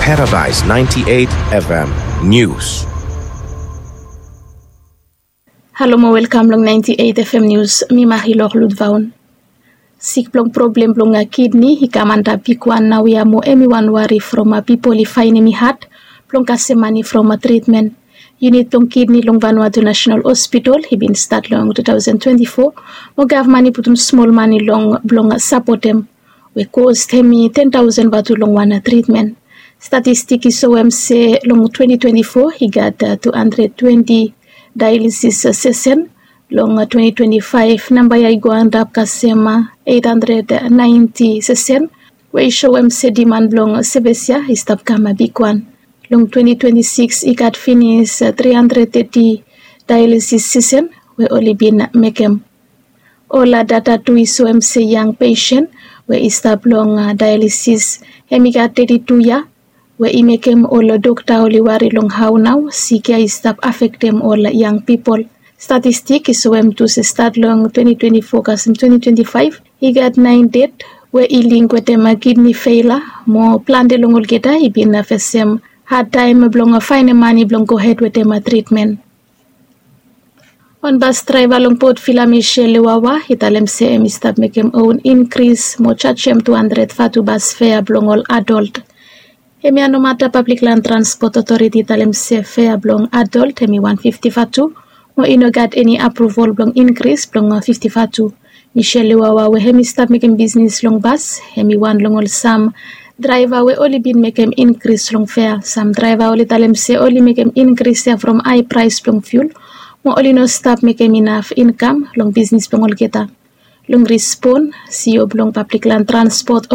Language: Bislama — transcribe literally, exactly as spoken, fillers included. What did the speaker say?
Paradise ninety-eight F M News. Halo mo welkam long ninety-eight F M News. Mi Marilor Ludvaun. Sik blong problem blong kidney i kam antap bigwan naoia mo hemi wan wari from pipol i faenem i had blong kasem mane from tritmen. Yunit blong kidney long Vanuatu National Hospital i bin stat long two thousand twenty-four mo gavman i putum smol mane long blong sapotem, we kost hemi ten taosen vatu long wan tritmen. Statistik i soem se long twenty twenty-four i gat two hundred twenty dialysis sesen. Long twenty twenty-five namba ya i go antap kasem eight hundred ninety sesen, we i soem se diman blong sevis ya i stap kam bigwan. Long twenty twenty-six i gat finis three hundred thirty dialysis sesen we oli bin mekem. Ol data tu i soem se yang pesen we i stap long dialysis hemi gat thirty-two ya, we i mekem ol dokta oli wari long hao nao sik ya i stap afektem ol yang pipol. Statistik i soem tu se stat long twenty twenty-four kasem twenty twenty-five i gat naen ded we i link wetem kidney feila, mo plante long olgeta i bin fesem hadtaem blong faenem mane blong gohed wetem tritmen. Wan bas draeva long Port Vila, Michelle Lewawa, i talem se hemi stap mekem own inkris mo jajem two hundred vatu bas fea blong ol adolt. Hemia nomata Pablik Lan Transpot Otoriti i talem se fea blong adolt hemi wan fifti vatu, mo i no gat eni apruvol blong inkris blong fifti vatu. Michelle Lewawa we hemi stap mekem bisnis long bas, hemi wan long ol sam draeva we oli bin mekem inkris long fea. Sam draeva oli talem se oli mekem inkris ya from hae praes blong fiul, mo oli no stap mekem inaf inkam long bisnis blong olgeta. Long rispon, C E O blong Pablik Lan Transpot